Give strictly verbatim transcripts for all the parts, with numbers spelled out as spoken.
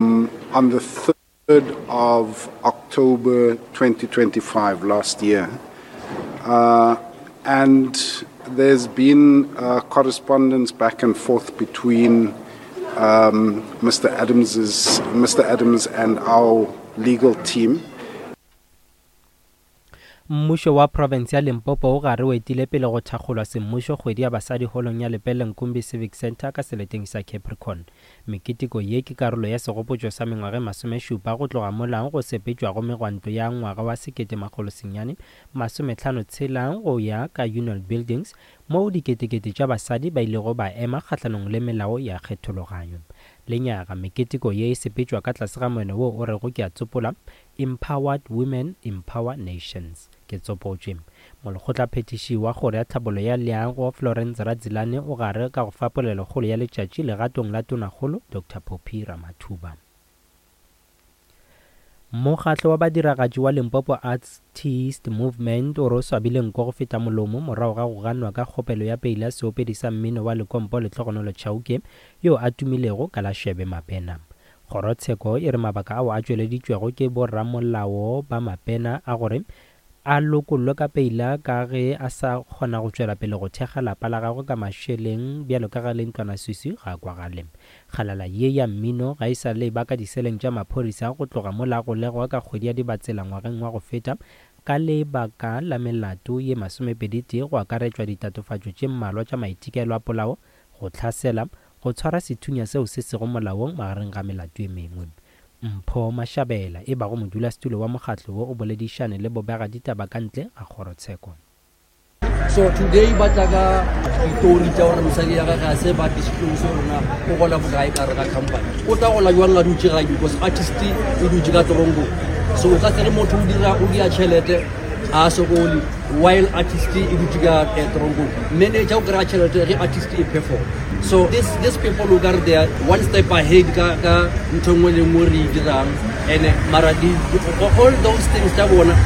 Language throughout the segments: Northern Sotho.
On the third of October twenty twenty-five last year. Uh, and there's been uh, correspondence back and forth between um, Mister Adams's, Mister Adams and our legal team. Mmušo wa profense ya Limpopo o gare o etile pele go thakgolwa semmušo Kgwedi ya Basadi holong ya Lepelle Nkumbi Civic Centre ka seleteng sa Capricorn. Meketeko ye ke karolo ya segopotšo sa mengwaga e masomešupa go tloga molang go sepetšwago megwanto ya ngwaga wa sekete makgolo senyane masomehlano tshela go ya ka Union Buildings, moo diketekete tša basadi ba ilego ba ema kgahlanong le melao ya kgethologanyo. Lenyaga meketeko ye e sepetšwa ka tlase ga moeno wo o rego, ke a tsopola, "Empowered Women Empower Nations," ke tsopotšwe. Molekgotlaphethiši wa Kgoro ya Tlhabollo ya Leago, Florence Radzilane, o gare ka go fa polelokgolo ya letšatši legatong la Tonakgolo Doctor Phophi Ramathuba. Mokgatlo wa badiragatši wa Limpopo Artist Movement o re o swabile nko go feta molomo morago ga go ganwa ka kgopelo ya peile ya seopedi sa mmino wa lekompo Lehlogonolo Chauke, yo a tumilego ka la Shebe Mapena. Kgorotsheko e re mabaka ao a tšweleditšwego ke boramolao ba Mapena a gore a lokollwe ka peila ka ge a sa kgona go tšwela pele go thekga lapa la gagwe ka mašeleng bjalo ka ge le ntlwanaswiswi ga kwagale. Kgalala ye ya mmino ga e sa le ba ka diseleng tša maphodisa go tloga mola golegwa ka kgwedi ya Dibatsela ngwageng wa go feta ka lebaka la melato ye masomepedi tee, go akaretšwa ditatofatšo tše mmalwa tša maitekelo a polao, go hlasela, go tshwara sethunya seo se sego molaong, magareng ga melato e mengwe. Mpho Mashabela, e bago modulasetulo wa mokgatlo wo, o boledišane le bobega ditaba ka ntle ga kgorotsheko. So today ba tla ka ditori tša gore mosadi ya gage ga se ba disclose rona o gola bokae ka re ga company. O tla gola jwang a dutše gae? Because artist e dutše ka toronkong, so o ka se re motho o dira o dia tšhelete a sokole while artist e dutše ka eh, toronkong. Manager o kry-a tšhelete ge artist e perform. So this, this people o kare they are one step ahead ka ka ntho nngwe le nngwe re e dirang. And mara di, all those things tša bona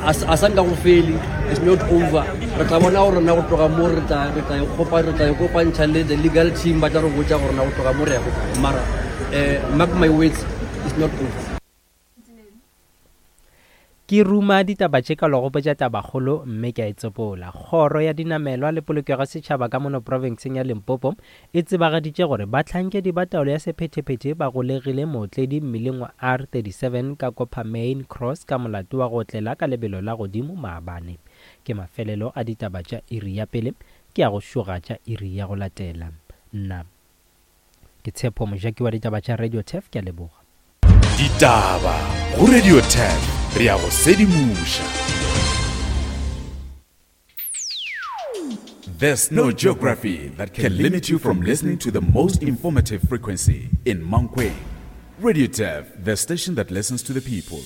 a a sa nka go fele. It's not over. Re tla bona gore na go tloga mo re tla re tla ikopa re tla ikopantšha le the legal team, ba tla re botša gore na go tloga mo re ya go kae. Mara eh, mark my words, it's not over. Ke ruma ditaba tše ka gopotša tabakgolo mme ke a e tsopola. Kgoro ya Dinamelwa le Polokego Setšhaba ka mono profenseng ya Limpopo e tsebagaditše gore bahlankedi ba taolo ya sephethephethe ba golegile mootledi mmileng wa R thirty-seven ka Coppermine Cross ka molato wa go otlela ka lebelo la godimo maabane. Ke mafelelo a ditaba tša iri ya pele. Ke ya go šoga tša iri ya go latela. Nna ke Tshepo Mojaki wa ditaba tša Radio Turf. Ke a leboga. Ditaba go Radio Turf, re ya go sedimoša. There's no geography that can limit you from listening to the most informative frequency in Mankweng. Radio Turf, the station that listens to the people.